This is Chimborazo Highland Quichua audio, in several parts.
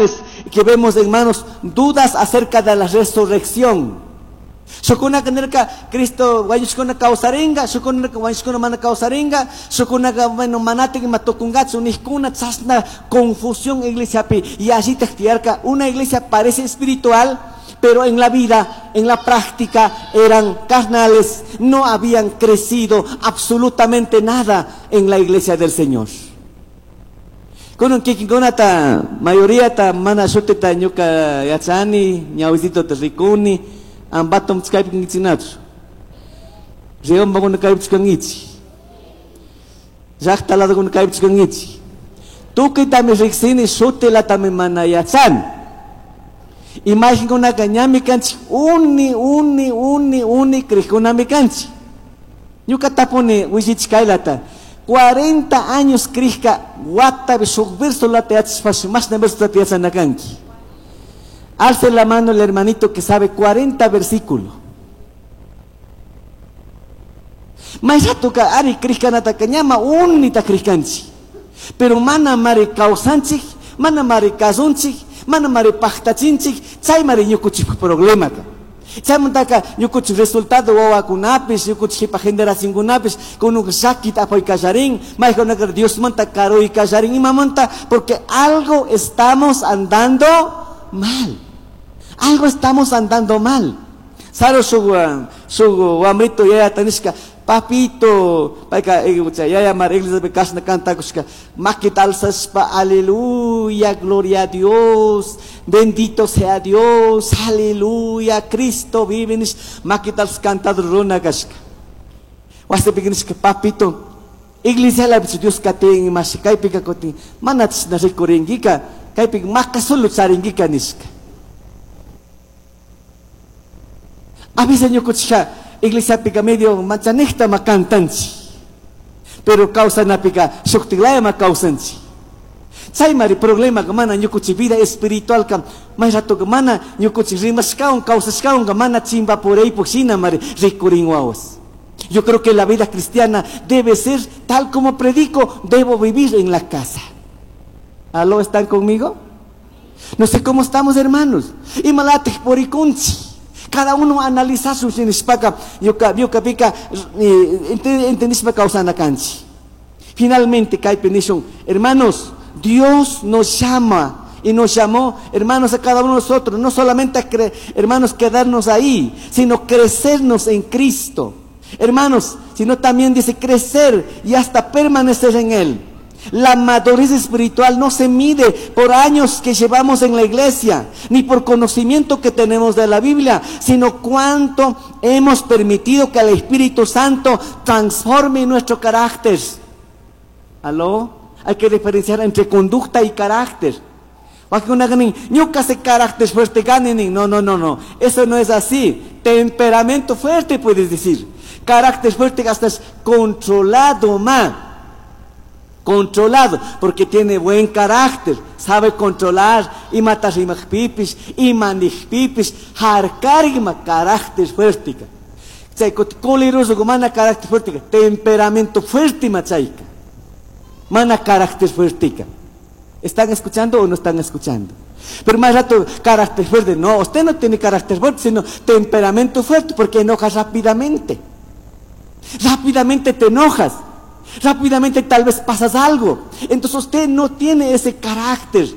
carnales que vemos, hermanos, dudas acerca de la resurrección. Shukkunaka nirka Cristo wañushkuna kawsaringa, shukuna nirka wañushkuna mana kawsaringa, shukkunaka bueno manatik ima tukungachu nijkuna chashna confusión iglesiapi yallitaj tiyarka. Una iglesia parece espiritual, pero en la vida, en la práctica, eran carnales, no habían crecido absolutamente nada en la iglesia del Señor. Kunan kikinkunata, mayoriata mana shutita ñuka yachani, ñawisitota rikuni, ambatom kaypi kankichiknachu. Riobambakuna kaypichu kankichik. Llakta ladokuna kaypichu kankichik. Tukuytami riksini, shutilatami mana yachani. Imaginkunaka ñami kanchik, uni, uni, uni, uni crijkunami kanchik. Ñuka tapuni willichik kaylata. 40 años crijka watapi shuk versolata yachashpash mashna versolata yachana kanki. Alce la mano el hermanito que sabe 40 versículos. May ratoka ari crijkanataka ñama unita crijkanchik. Pero mana mari kawsanchik, mana mari kasunchik, mana mari paktachinchik, chay mari ñukuchik problemaka. Chaymantaka ñukuchik resultado wawakunapish, ñukuchik jipa generacionkunapish, kunuk llakita apay kallarin, maykunaka Diosmanta karuy kallarin, imamanta, porque algo estamos andando mal. Algo estamos andando mal. Saro shuk wamrito yaya tanishka, papito, payka, yaya mar iglesia pi kashna cantakushka, makita alzashpa, aleluya, gloria a Dios, bendito sea Dios, aleluya, Cristo vive, nish, makita alzas cantado runa kashka. Wasipi nishka, papito, iglesia la bichu Dios katin, mashi, kaypika kutin, mana chishna rikuringika, kaypika maka solo charingika nishka. A veces ñukuchika iglesia pica medio manchanejta ma cantanchi, pero kawsanapika shuktiklaya ma kawsanchi. Chay mari problema ka mana ñukuchi vida espiritual ka may rato ka mana ñukuchi rimashkawan kawsashkawan ka mana chimbapuraypuk shina mari rikurin wawas. Yo creo que la vida cristiana debe ser tal como predico, debo vivir en la casa. ¿Aló, están conmigo? No sé cómo estamos, hermanos. Imalatik porikunchi. Cada uno analiza su sinishpaka, yuka, yuka pika, entendishpa kawsana kanchi. Finalmente, kaypi nishun, hermanos, Dios nos llama y nos llamó, hermanos, a cada uno de nosotros, no solamente a hermanos, quedarnos ahí, sino crecernos en Cristo. Hermanos, sino también dice crecer y hasta permanecer en Él. La madurez espiritual no se mide por años que llevamos en la iglesia, ni por conocimiento que tenemos de la Biblia, sino cuánto hemos permitido que el Espíritu Santo transforme nuestro carácter. ¿Aló? Hay que diferenciar entre conducta y carácter. Ñuka se carácter fuerte ganen. No, no, no, no. Eso no es así. Temperamento fuerte puedes decir. Carácter fuerte hasta es controlado más. Controlado, porque tiene buen carácter, sabe controlar, y matar y pipis, y manij pipis, harkarima carácter fuerte. Chay, coleroso, mana carácter fuerte, temperamento fuerte, machaica. Mana carácter fuerte. ¿Están escuchando o no están escuchando? Pero más rato, carácter fuerte, no, usted no tiene carácter fuerte, sino temperamento fuerte, porque enojas rápidamente. Rápidamente te enojas. Rápidamente tal vez pasas algo. Entonces usted no tiene ese carácter.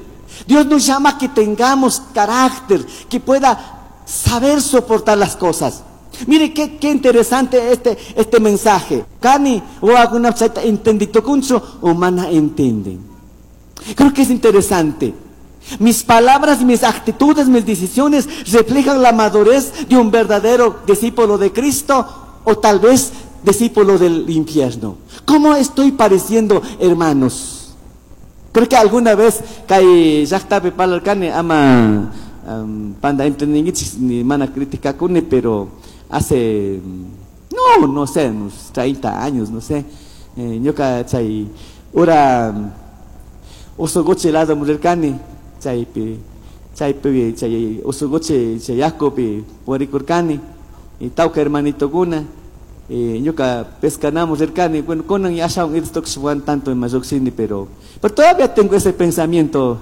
Dios nos llama a que tengamos carácter, que pueda saber soportar las cosas. Mire qué interesante este mensaje. Kani o alguna chaita entendito kuncho o mana entienden. Creo que es interesante. Mis palabras, mis actitudes, mis decisiones reflejan la madurez de un verdadero discípulo de Cristo o tal vez discípulo del infierno. ¿Cómo estoy pareciendo, hermanos? Creo que alguna vez kay llaqtapi parlarkani ama, panda entendingichis ni mana crítica kuni, pero hace, no, no sé, unos 30 años, no sé, ñuka chay ura usuguchi lado murirkani, chaypi, chaypi, chay usuguchi chay yakupi purikurkani, y tawka hermanitokuna, ñuka pescanamos cercani, bueno, conan y ashaun irstox tanto en mayoxini, pero todavía tengo ese pensamiento.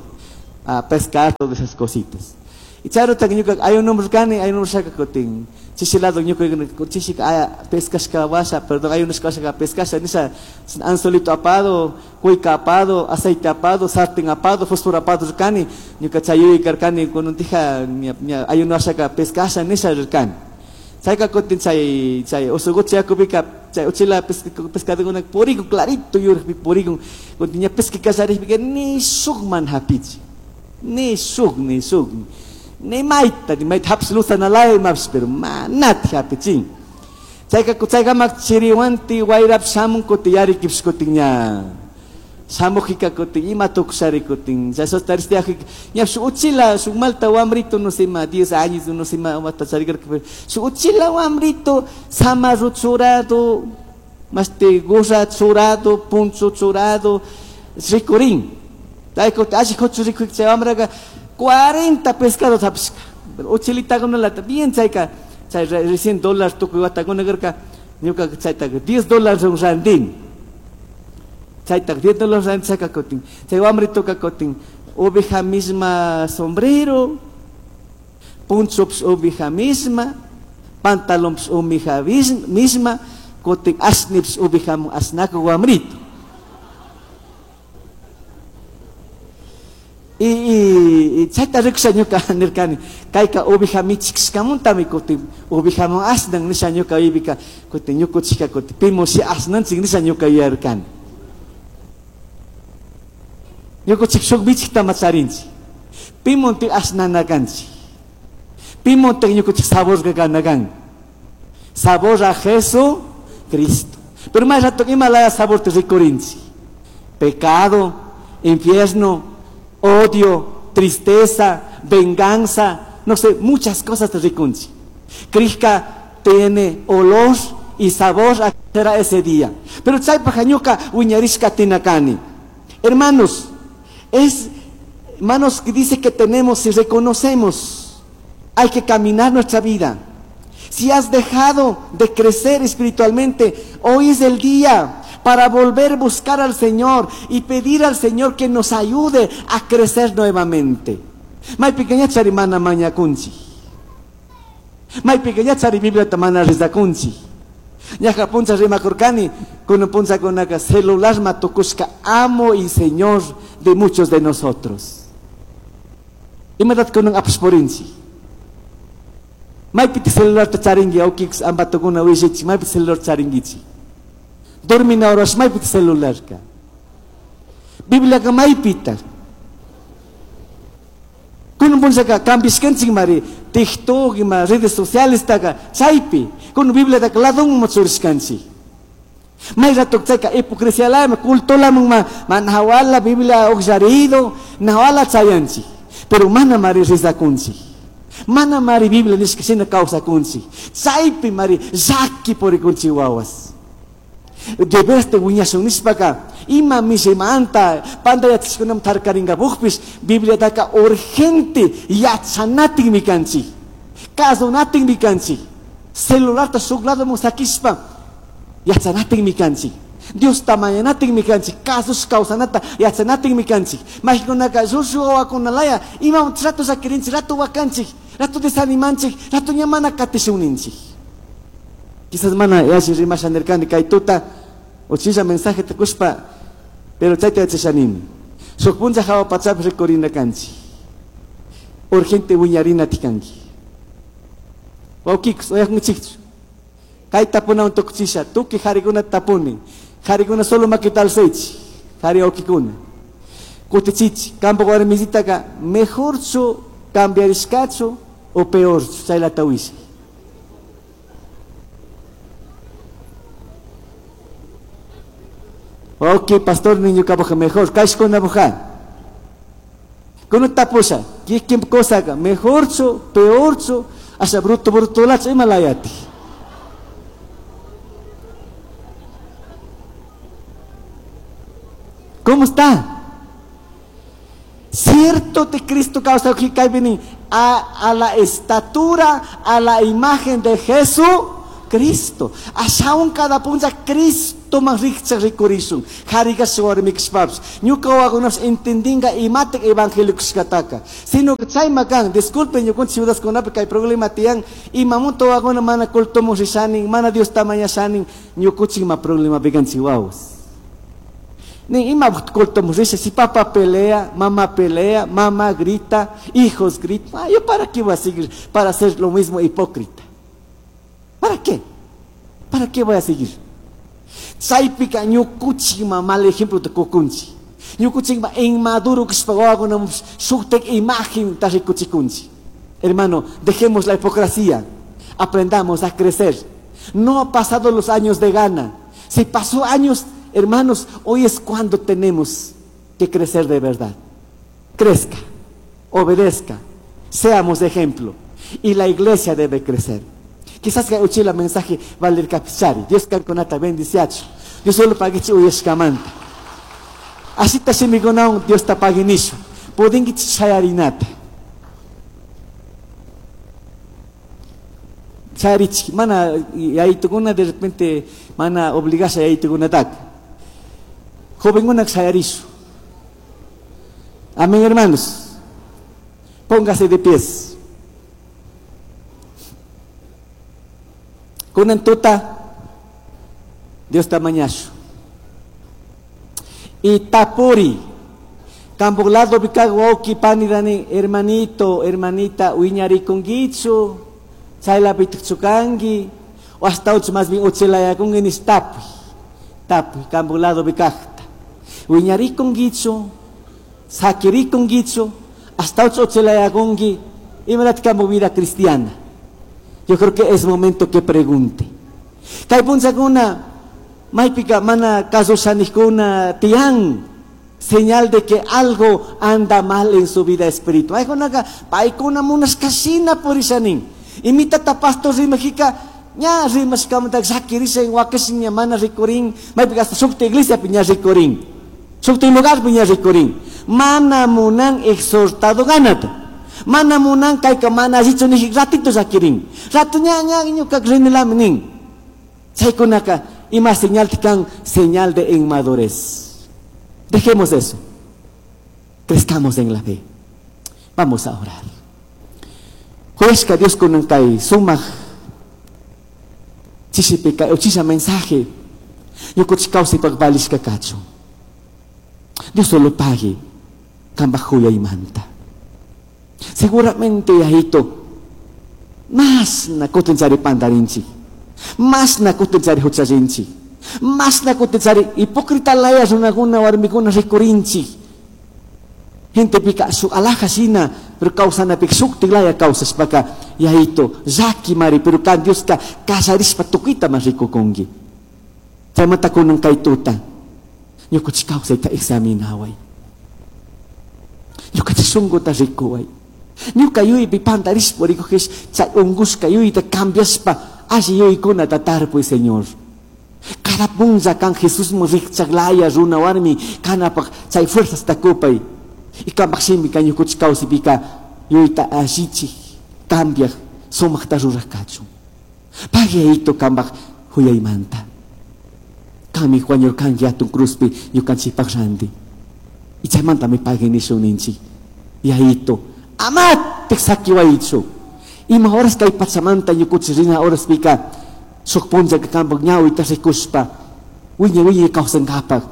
a pescar todas esas cositas. Y chayrutaka ñuka ayunomurkani, ayunumurshaka kutin chishi lado ñuka chishika pescashka washa, perdón, ayunashka washaka pescasha nisha anzuelito apado, cuica apado, aceite apado, sartén apado, fósforo apado rikani, ñuka chay yuyay karkani kununtija ña ayunashaka pescasha nisha rirkani. Chayka kutin chay chay usugucha yakupika chay uchila pescadokuna purikun clarito yurakpi purikun, kutin ña pesca kallarikpika ni shuk mana hapichi, ni shuk, ni shuk, ni mayta, ni mayta hapish luzanalaya imapish, pero manati hapichin. Chayka chaykama chiriwanti wayrapish shamun kutin yarikipish kutin ña shamujika kutin ima tukushari kutin chay sostaristiajika ñapish uchila shuk malta wambrito no sé ima 10 años no sé ima wata charikarka, pero shuk uchila wambrito samarro churado, mashti gorra churado, puncho churado rikurin. Chay kutin alli kuchu rikujika chay wambraka 40 pescados hapishka. Pero uchilitakunalata bien chayka chay recién dólar tukuy watakuna karka, ñuka chaytaka 10 dólares un randin. Chaytaka 10 dólares randin chayka kutin. Chay wambritoka kutin oveja misma sombrero, puncho oveja misma, pantalón oveja misma, kutin asnips oveja asnako wambrito. Y chayta rikusha ñuka nirkani, kayka oveja michikshkamuntami kutin ovejaman asnan nisha ñuka yuypika, kutin ñukuchika kutin pimushi asnanchik nisha ñuka yuyarkani. Ñukuchik shuk michiktama charinchik, pimuntik asnana kanchik, pimuntik ñukuchik saborka kana kan, sabor a Jesucristo. Pero may rato ima laya sabor te rikurinchik, pecado, infierno, odio, tristeza, venganza, no sé, muchas cosas te rikunchi. Krishka tiene olor y sabor a será ese día. Pero chaypaja ñuka wiñarishka tinakani. Hermanos, es hermanos que dice que tenemos y reconocemos, hay que caminar nuestra vida. Si has dejado de crecer espiritualmente, hoy es el día para volver a buscar al Señor y pedir al Señor que nos ayude a crecer nuevamente. Maypika ña charimana mañakunchik. Maypika ña chari Biblia mana rizakunchik. Ñaja puncha rimakurkani, kunan punchakunaka celular matukushka amo y Señor de muchos de nosotros. Imatat kunan apashpurinchik. Maypiti celular ta charingi, aukix ambatukuna wishichik, maypiti celular charingichik. Dormina horas maypiti celular ka. Biblia ka maypita. Kunan punchaka kambishkanchik mari TikTok ima redes sociales taka chaypi. Kunan Biblia taka ladunman churishkanchik. May rato chayka hipocresía lama culto laman ma manahawala Biblia uqllarido nahawala chayanchik. Pero mana mari rizakunchik. Mana mari Biblia nishka shina kawsakunchik. Chaypi mari llaki purikunchik wawas. Debeste wiñashun nishpaka ima mishimanta panda yachashkunam tarkarinkapuqpis Biblia taka urgente yachanatinmi kanchik, kasunatinmi kanchik, celularta shuk ladoman sakishpa yachanatinmi kanchik, Diosta mañanatinmi kanchik, kasush kawsanata yachanatinmi kanchik. Majikunaka shushu wawakunalaya ima rato sakirinchik, rato wakanchik, rato desanimanchik, rato ña mana katishunninchik. Quizás mana yalli rimasha nirkani kay tuta uchilla mensaje tukushpa, pero chayta yachashanimi. Shuk puncha hawa pachapi rikurina kanchik. Urgente wiñarina tikanki. Wawkikus, uyakunchikchu. Kay tapunawan tukuchisha, tukuy harikuna tapuni. Harikuna solo makita alzaychik, hari wawkikuna. Kutichichi, kampak warmisitaka mejorchu cambiarishkachu o peorchu, chaylata wishay. Ok, pastor niño kaboja mejor, kashkuna boja. Kono tapusha, kikim kosaka, mejorchu, peorchu, asha bruto bruto lacho imalayati. ¿Cómo está? Cierto de Cristo causa a la estatura, a la imagen de Jesucristo. Cristo. Ashaun cada punza Cristo man rikchak rikurishun. Harikas warmikashpapish. Ñuka wawakunapish entendinga imatak evangelio kashkataka. Sino que chayma kan, disculpen ñukunchik ciudadkunapi kay problema tiyan, imamunta wawakuna mana cultomun rishanin, mana Diosta mañashanin, ñukunchik ima problema kanchik wawas. Ni ima cultomun risha, si papá pelea, mamá pelea, mamá grita, hijos gritan, ah, ¿yo para qué voy a seguir? Para hacer lo mismo hipócrita. ¿Para qué? ¿Para qué voy a seguir? Chaypika ñukuchikma mal ejemplo ta kukunchik. Ñukuchikma inmaduro kashpa wawakuna shuktak imagen ta rikuchikunchik. Hermano, dejemos la hipocresía. Aprendamos a crecer. No ha pasado los años de gana. Si pasó años, hermanos, hoy es cuando tenemos que crecer de verdad. Crezca, obedezca, seamos ejemplo. Y la iglesia debe crecer. Quizás que uchila mensaje valer capichari. Dios kankunata bendiciachu. Dios solo paguichi uyashkamanta. Así ta shimikunawan Dios ta paguinishu. Pudinkichi shayarinata. Shayarichi. Mana yaytukuna de repente mana obligasha yaytukunataka. Jovenguna shayarishu. Amén, hermanos. Póngase de pies. Kunan tuta Dios ta mañashu. Y tapuri. Kambo lado bikag wauki pani dani hermanito, hermanita, uiñarikungichu, chayla bitukchukangi, o hasta ocho más bien uchelayakungi nis tapi. Tapi, kambo lado bikagta. Uiñarikungichu, sakirikungichu, hasta ocho uchelayakungi, imalat kambo vida cristiana. Yo creo que es momento que pregunte. Kay punchakuna, maypika mana kasushanikkuna tiyan, señal de que algo anda mal en su vida espiritual. Aykunaka, paykuna munashkashina purishanin. Imitata pastor rimajika, ña rimashkamanta sakirishan wakashin ña mana rikurin, maypika hasta shukta iglesia piña rikurin, shukta lugar piña rikurin. Mana munan exhortado ganata. Mana munan kayka mana allichu niji ratito sakirin. Rato ña ña ñuka rinilami nin. Chaykunaka ima señal tikan, señal de inmadurez. Dejemos eso. Crezcamos en la fe. Vamos a orar. Juezka Dios kunan kay sumaj chishipika uchisha mensaje. Ñukuchik kawsaypak valishka kachun. Dios solo pague kambaj huyaymanta. Seguramente, yajito, más na kutinchari pandarinchi, más na kutinchari huchallinchi, más na kutinchari hipócrita laya runakuna warmikuna rikurinchi. Gente pica su alhaja shina, pero causana pica shukti laya causashpaka, yajito, llaki mari, pero kan Dios ka kasarishpa tukita mas rikukunki. Chaymanta kunan kay tuta, ñukuchi kawsayta examinaway. Ñukachi shunkuta rikuway. Ñuka yuypi pantarishpa rikujish, chay ungushka yuyta cambiashpa, alli yuykunata tarpuy, Señor. Cada punlla kan Jesús mu rikchaklaya runa warmi kanapaj chay fuerzas takupay. Y kanpaj shimi kan ñukuchi kawsaypika yuyta allichik, cambiaj, sumaqta ruraj kachun. Pagueito kanpaj huyaymanta. Kanmi wañurkanki hatun cruzpi ñukanchikpaj ranti. Y chaymantami pagui nishun ninchik. Yayito, amatik sakiwaychu. Ima horas kay pachamanta ñukuchi rina horaspika shuk punllaka kanpaj ñawita rikushpa wiñay wiñay kawsankapak.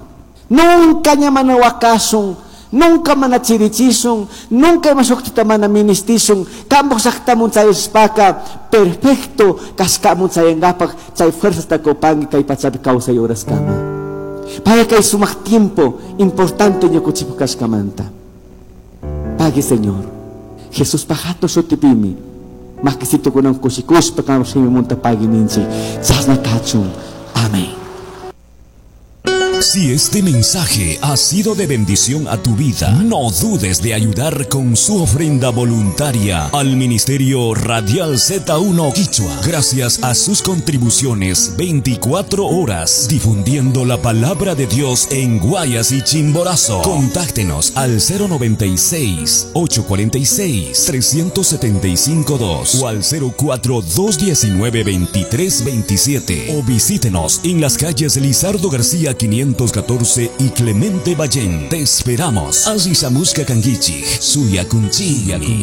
Nunca ña mana wakashun, nunca mana chirichishun, nunca ima shuktita mana ministishun. Kanpaj llaqtamun chayashpaka perfecto kashkamun chayankapak chay fuerzasta kupanki kay pachapi kawsay horaskama. Para kay sumaq tiempo importante ñukuchipaj kashkamanta. Pague, Señor. Jesús pajato shutipimi. Makisito kunan kushikushpa kam shimi munta pague ninchi. Chasna kachun. Amén. Si este mensaje ha sido de bendición a tu vida, no dudes de ayudar con su ofrenda voluntaria al Ministerio Radial Z1 Quichua. Gracias a sus contribuciones 24 horas difundiendo la palabra de Dios en Guayas y Chimborazo. Contáctenos al 096 846 375 2 o al 04 219 2327 o visítenos en las calles Lizardo García 514 y Clemente Ballén. Te esperamos. Azizamusca Canguichi, Suya Kunchi.